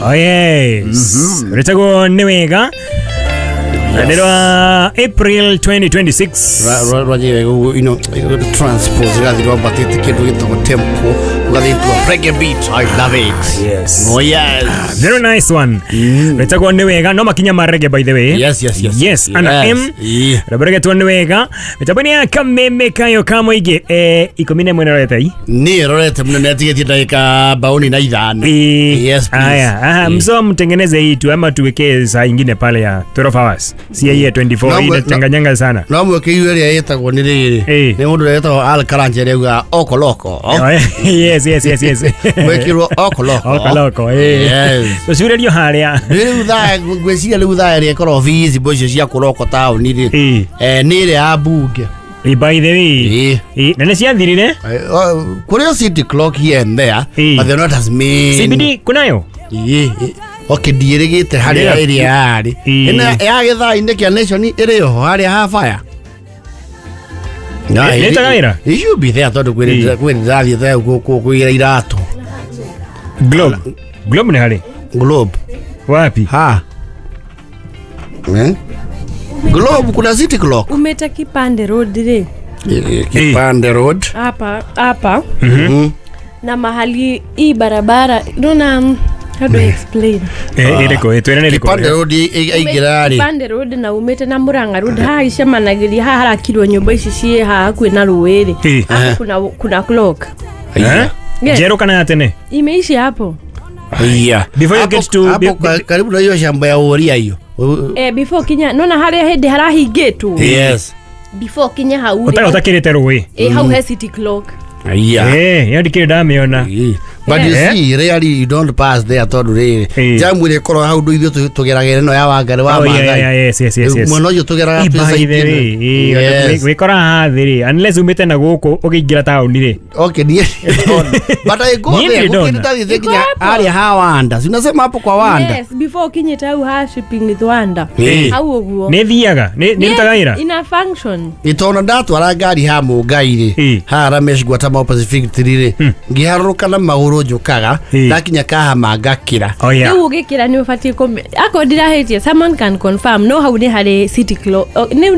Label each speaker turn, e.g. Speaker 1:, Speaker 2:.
Speaker 1: Oh yes. Rĩtagwo nĩ wega na nĩ rwa April 2026.
Speaker 2: Rwaje you know transpose rathi rwambatĩte kĩndũ gĩtagwo tempo ũgathiĩ to a reggae beat. I love it.
Speaker 1: Yes.
Speaker 2: Oh yes.
Speaker 1: Very nice one. Rĩtagwo nĩ wega no makinya ma reggae, by the way.
Speaker 2: Yes.
Speaker 1: Yes, ana
Speaker 2: Yes.
Speaker 1: M.
Speaker 2: Yeah.
Speaker 1: Rwĩmbo nĩ wega mĩtambo-inĩ ya kameme kayo ka mũingĩ 11 rorete i.
Speaker 2: Niĩ rorete mũno nĩatigĩtie ndagĩka 45. Yes, please.
Speaker 1: Aya, aha, mso mtengeneze hii tu ama tuwekee saa ingine pale ya 12 hours. Si hii ya 24
Speaker 2: No,
Speaker 1: hii inachanganyanga sana.
Speaker 2: No mweke iu ĩrĩa ĩtagwo nĩ rĩrĩ nĩ mũndũ ũrĩa wĩtagwo Al Karanja ĩrĩa augaga okoloko.
Speaker 1: Oh, yes.
Speaker 2: Mwekĩrwo okoloko.
Speaker 1: Okoloko, eh.
Speaker 2: Yes.
Speaker 1: Tũcurĩrio harĩa.
Speaker 2: Rĩu thaa ngwĩciria rĩu thaa ĩrĩa ĩkorwo feasible icio cia kũroko taũni rĩ nĩ ĩrĩa ya mbunge.
Speaker 1: By the way. Na nĩ ciathirire?
Speaker 2: Kũrĩ o city clock here and there, but they're not as many.
Speaker 1: CBD kunayo?
Speaker 2: Okay, ndiĩrĩgĩte harĩa ĩrĩa yarĩ. Ĩno ya gĩthaa-inĩ kĩa Nation ĩrĩ oho harĩa ha fire. No,
Speaker 1: Nĩ ĩtaga wĩra?
Speaker 2: It should be there tondũ kwĩ ndĩrathiĩte kũgĩra iratũ.
Speaker 1: Globe. Globe nĩ harĩ?
Speaker 2: Globe.
Speaker 1: Wapi?
Speaker 2: Ha. Eh? Globe kuna city clock.
Speaker 3: Umeta Kipande Road rĩ.
Speaker 2: Kipande Road.
Speaker 3: Hapa hapa na mahali hii barabara naona, how do I explain?
Speaker 1: Ĩrĩkũ? Twĩre nĩ ĩrĩkũ?
Speaker 2: Kipande Road aingĩra rĩ.
Speaker 3: Kipande Road na umĩte na Murang'a Road haha icemanagĩria haha harakirwo nyũmba ici ciĩ haha hakuhĩ na rũĩ rĩ. Haha kuna clock.
Speaker 1: Eh?
Speaker 3: Yes.
Speaker 1: Njerũ kana ya tene?
Speaker 3: Imeishi hapo.
Speaker 2: Iya.
Speaker 1: Before you
Speaker 2: Hapo-
Speaker 1: get to
Speaker 2: hapo karibu na hiyo shamba ya Uria hiyo.
Speaker 3: Before kinya nona harĩa hĩndĩ harahingĩtwo.
Speaker 2: Yes.
Speaker 3: Before kinya hau
Speaker 1: Ũtarĩ
Speaker 3: rĩ.
Speaker 1: ũtakĩrĩte rũĩ.
Speaker 3: Hau he city clock.
Speaker 2: Iya.
Speaker 1: Ĩyo ndikĩrĩ ndamĩona.
Speaker 2: But you
Speaker 1: Eh?
Speaker 2: see, really you don't pass there tondũ rĩrĩ jamu ĩrĩa ĩkoragwo hau ndũ ithuĩ tũgeragĩra ĩno ya Wangari wa
Speaker 1: Oh, yeah,
Speaker 2: Maathai.
Speaker 1: yeah, yes.
Speaker 2: Mwena ũcio tũgeraga
Speaker 1: By
Speaker 2: twĩ
Speaker 1: the
Speaker 2: side
Speaker 1: way,
Speaker 2: ĩno. Yes.
Speaker 1: wĩkora haha thĩ rĩ, unless umĩte na gũkũ ũkĩingĩra taũni rĩ.
Speaker 2: Okay, niĩ ndona. But I go
Speaker 1: Niĩ
Speaker 2: there.
Speaker 1: ndirĩ ndona.
Speaker 2: Gũkĩrĩ ndathiĩte
Speaker 3: Iko
Speaker 2: nginya
Speaker 3: hapo.
Speaker 2: harĩa ha Wanda. Si unasema hapo kwa Wanda?
Speaker 3: Yes, before ukinyĩte hau ha shipping with Wanda. Hau ũguo.
Speaker 1: Nĩ thiaga nĩ rutaga wĩra.
Speaker 3: Ina function.
Speaker 2: Nĩ tondũ ndatwara ngari ha Mũngai rĩ, haha Ramesh Gwatama Pacific 3 rĩ, ngĩharũrũka na magũrũ njũkaga ndakinya Kahama ngakĩra.
Speaker 1: Oh, yeah.
Speaker 3: Rĩu ũgĩkĩra nĩ ũbatiĩ akorwo ndirahĩtie, someone can confirm, no hau nĩ harĩ city clock. Oh, nĩ